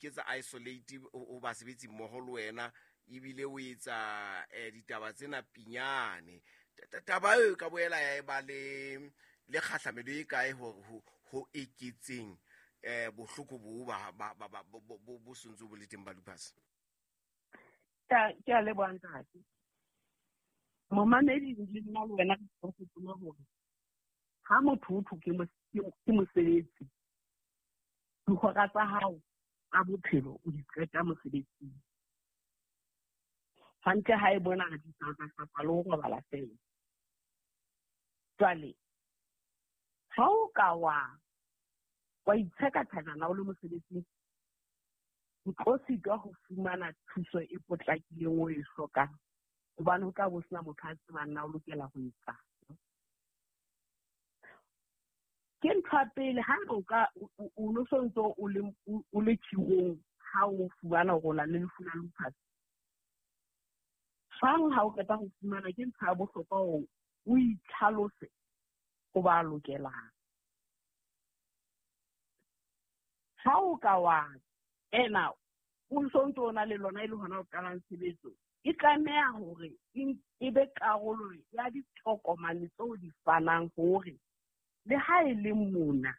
iketsa isolate o basebetsi mmoho le wena, ebile o etsa ditaba tsena pinyane. Taba eo ka boela ya eba le kgahlamelo e kae ho eketseng bohloko bo bo sontso bo le teng ba lupus? Ke a leboha ntate. Momamedi le nna le wena re gopola hore ha motho o thwe ke mosebetsi, dihora tsa hao tsa bophelo o di qeta mosebetsing. Hantle ha e bona re di hlapa le ho robala fela. Jwale ha o ka wa itsheka thajana o le mosebetsing, o tlo sitwa ho fumana thuso e potlakileng o e hlokang, hobane ho tla bo sena motho a tsebang na o lokela ho etsang. Ke ntho ya pele, ha o ka o no sontso o le tshirong ha o fumana hore o na le lefu la lupus, hang ha o qeta ho fumana, ke ntho ya bohlokwa hore o itlhalose ho ba lokelang. Ha o ka wa ena o sontso o na le lona e le hona o qalang tshebetso, e tlameha hore e be karolo ya ditokomane tseo di fanang hore le ha e le mona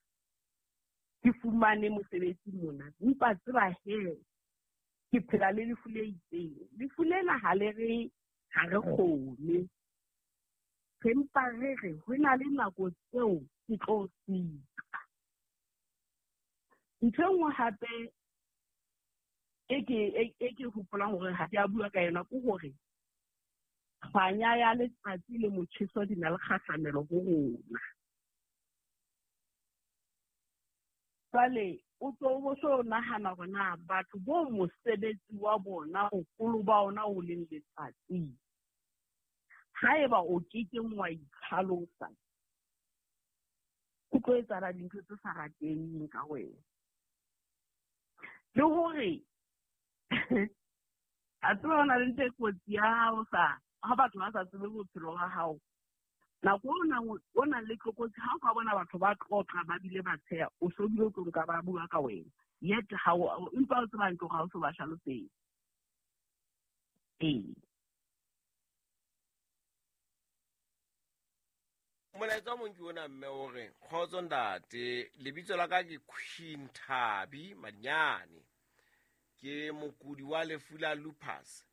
ke fumane mosebetsi mona, empa tseba he ke phela le lefu le itseng. Lefu lena ha le re ha re kgone, re mpa re re ho na le nako tseo ke tlo sitwa. Ntho e nngwe hape e ke hopolang hore ha ke a bua ka yona ke hore kganya ya letsatsi le motjheso di na le kgahlamelo ho rona. Jwale o tlo bo so nahana hore na batho bo mosebetsi wa bona boholo ba ona o leng letsatsing, haeba o kekeng wa itlhalosa, ho tlo etsahala dintho tse sa rateheng ka wena. Le hore a tseba ho na le ntho e kotsi ya hao sa ha batho ba sa tsebe bophelo ba hao, nako o nang le tlokotsi ha o ka bona batho ba tlotla ba bile ba tsheha, o so bile o tlo nka ba bua ka wena, yet ha o empa o tseba hantle hore ha o so ba hlalosetse. Ee. Molaetsa o mong ke ona mme o re, kgotso ntate, lebitso la ka ke Queen Thabi Madinyane, ke mokudi wa lefu la lupus.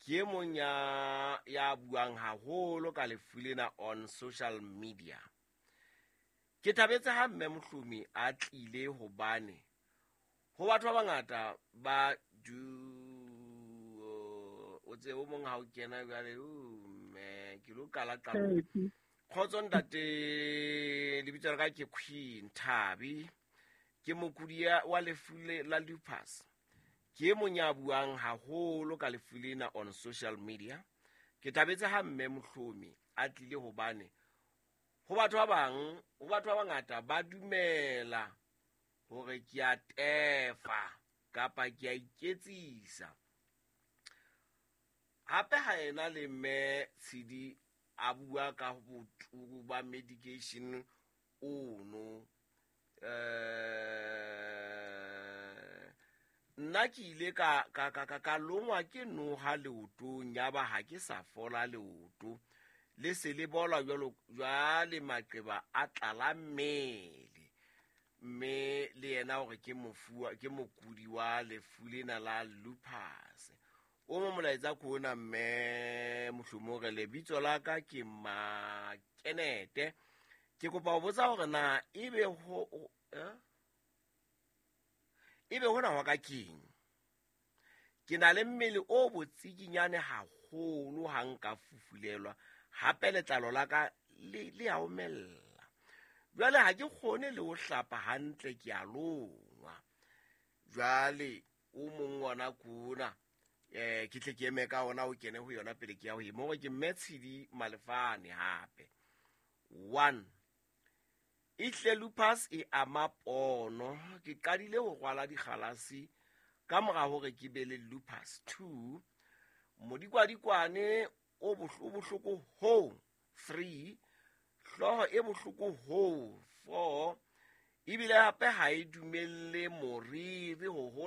Ke e mong ya buang haholo ka lefu lena on social media. Ke thabetse ha mme Mohlomi a tlile hobane ho batho ba bangata ba du o tse o mong ha o kena jwale, mme ke lo qala qala. Kgotso ntate, lebitso la ka ke Queen Thabi, ke mokudi wa lefu la lupus. Ke e mong ya buang haholo ka lefu lena on social media. Ke thabetse ha mme Mohlomi a tlile hobane ho batho ba bang, ho batho ba bangata ba dumela hore ke a tefa kapa ke a iketsisa. Hape ha ena le mme Tshidi a bua ka boturu ba medication ono, nna ke ile ka longwa ke noha leotong, yaba ha ke sa fola leoto, le se le bola jwalo jwale maqeba a tlala mmele. Mme le yena hore ke mofuwa, ke mokudi wa lefu lena la lupus. O mo molaetsa ko ona mme Mohlomi re lebitso la ka ke Makenete. Ke kopa ho botsa hore na ebe ho ebe hona hwa ka keng? Ke na le mmele o botsikinyane haholo ha nka fufulelwa, hape letlalo la ka le a omella. Jwale ha ke kgone le ho hlapa hantle, ke a longwa. Jwale o mong ona kona, ke tle ke eme ka ona o kene ho yona pele ke ya ho e mo ke mme Tshidi Malefane hape. 1 Ehle lupus e ama pono. Ke qadile ho rwala dikgalase ka mora hore ke be le lupus. 2 Modikwadikwane o bohloko ho. 3 Hlooho e bohloko ho. 4 Ebile hape ha e dumelle moriri ho hola.